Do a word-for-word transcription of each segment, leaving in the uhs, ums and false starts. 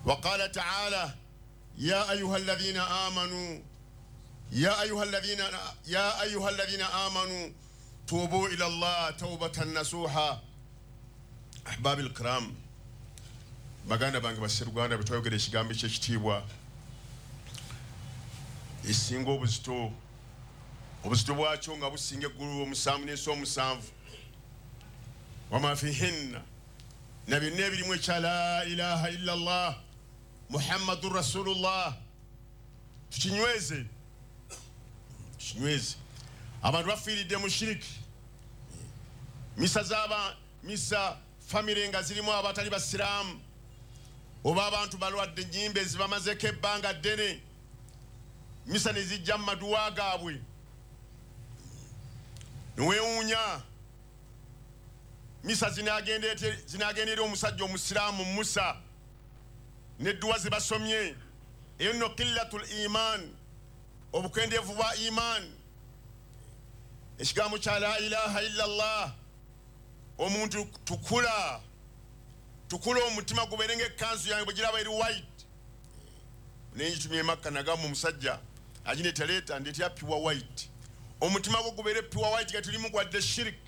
وقال تعالى يا أيها الذين آمنوا يا أيها الذين يا أيها الذين آمنوا توبوا إلى الله توبة نصوحا. أحبابي الكرام، baganda bange basseruganda betwayogera ekigambo ekyekitiibwa esinga obuzito, obuzito bwakyo nga businga eggulu omusanvu n'ensi omusanvu, wama fihinna, na byonna ebirimu ekya la ilaha illa Allah Muhammadun Rasulullah. Tukinyweze, tukinyweze. Abantu bafiiridde mu shiriki, misa z'aba misa famire nga zirimu abatali basiraamu, oba abantu balwadde ennyimba ezibamazeeko ebbanga ddene, misa ne zijja mu maduwa gaabwe neweewuunya. Misa zinagenda eri omusajja omusiraamu Musa n'edduwa ze basomye. Eyo nno qillatul iman, obukendeevu bwa iman. Ekigambo kya la ilaha illa Allah, omuntu tukula tukula omutima gubeere ng'ekkanzu yange bwe giraba eri white. Nengitumye e Makka nagamba omusajja agineetaleeta ndeetera pure white, omutima gwo gubeere pure white nga tulimu gwadde shirik.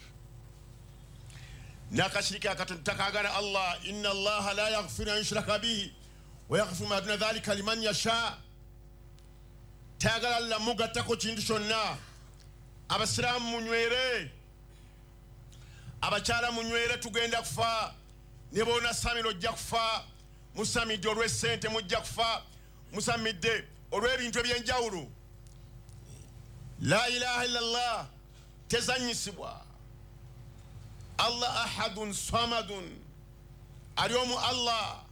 N'akashirika akatono takaagala Allah. Inna Allaha la yaghfiru an yushraka bihi wa yaghfiru ma duna dhalika liman yasha. Tayagala Allah mugattako kintu kyonna. Abasiraamu munywere, abakyala munywere, tugenda kufa. Ne bw'ona samira ojja kufa, musamidde olw'essente mujja kufa, musamidde olw'ebintu ebyenjawulo. La ilaha illallah tezannyisibwa. Allah ahadun samadun, ali omu Allah.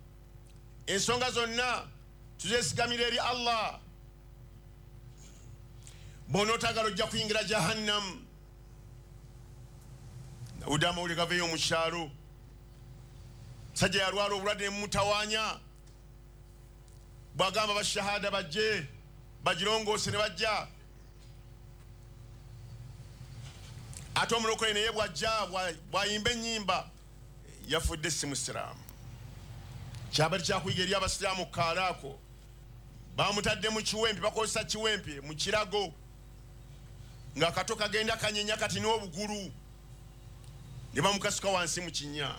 Ensonga zonna tuzeesigamira eri Allah. Bw'onootagala ojja kuyingira jahannam. Nawulidde amawulire gaveeyo mu kyalo, musajja yalwala obulwadde ne mumutawaanya, bw'agamba bashahada bajje bagirongoose ne bajja. Ate omulokole naye bw'ajja bw'ayimba ennyimba yafudde si musiraamu. Kyabali kyakuyiga eri abasiraamu kaalaako, bamutadde mu kiwempe, bakozesa kiwempe mu kirago ng'akato kagenda kanyenya kati n'obugulu, ne bamukasuka wansi mu kinnya.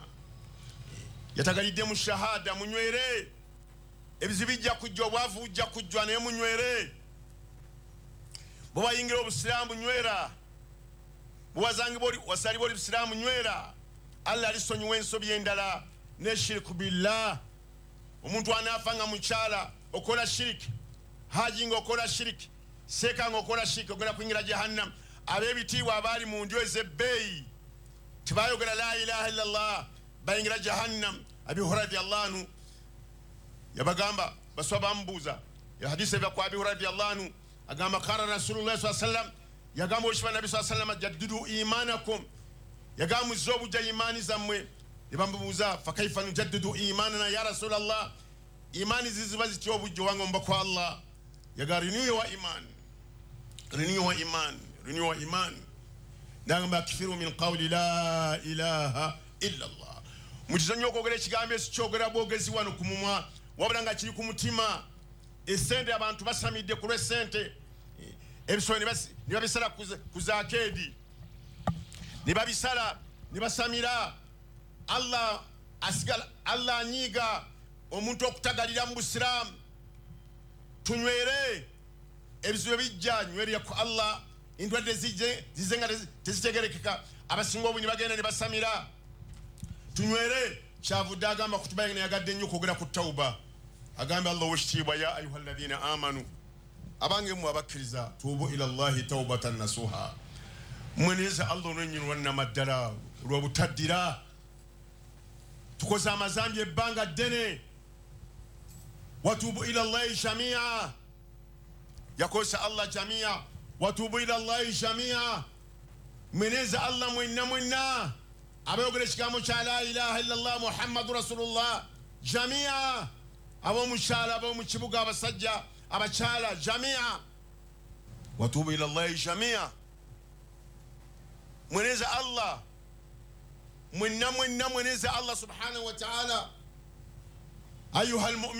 Yatagalidde mu shahada. Munywere, ebizibu bijja kujja, obwavu bujja kujja, naye munywere. Bwe bayingira obusiraamu nywera, bwewazangibwa wasalibwa oli busiraamu nywera. Allah alisonyiwa ensobi endala ne shiriku billah. Omuntu anaafa nga mukyala okola shiriki, haji nga okola shiriki, seeka nga okola shiriki, ogenda kuyingira jahannam. Ab'ebitiibwa abaali mu ndyo ez'ebbeeyi tebayogera la ilaha illallah, bayingira jahannam. Abi Hurairah radiyallahu anhu yabagamba, baswa bamubuuza hadisi eva ku Abi Hurairah radiyallahu anhu, agamba qala Rasulullah sallallahu alaihi wasallam, yagamba okiba Nabbi sallallahu alaihi wasallam, jaddidu imanakum, yagamba muzze obujja imaani zammwe. Ne bamubuuza fakaifa nujaddidu imanana ya Rasulallah, imaani ziziba zitya obujja owange omubaka wa Allah? Yaga renew your iman, renew your iman, renew your iman. Nagamba akfiru min qawli la ilaha illa Allah. Mukizo nnyo okwogera ekigambo ekyo kyogera bwogezi wano ku mumwa, wabula nga kiri ku mutima. Essente abantu basamidde ku lw'essente, ebisolo ne babisala ku zaakeedi, ne babisala ne basamira. Allah asigala, Allah anyiiga omuntu okutagalira mu busiraamu. Tunywere, ebizibu bijja, nywerera ku Allah. Endwadde zijje zize nga tezitegerekeka, abasinga obungi bagenda ne basamira. Tunywere. Kyavudde agamba kutuba yagadde nnyo okwogera ku tawuba. Agamba Allah ow'ekitiibwa, ya ayuha alladhina amanu, abange mmwe abakkiriza, tuubu ila Allahi tawbatan nasuha, mweneze Allah olwennyini lwannamaddala olw'obutaddira. Tukoze amazambi ebbanga ddene. Watuubu ila Allahi jamia, yakozesa Allah jamia. Watuubu ila Allahi jamia, mweneze Allah mwenna mwenna abayogera ekigambo kya la ilaha illallah Muhammadu Rasulullah jamia, ab'omukyalo, ab'omu kibuga, abasajja, abakyala, jamia. Watuubu ila Allahi jamia, mweneze Allah mwenna mwenna, mweneze Allah subhanahu wa ta'ala. Ayuha almu'minun.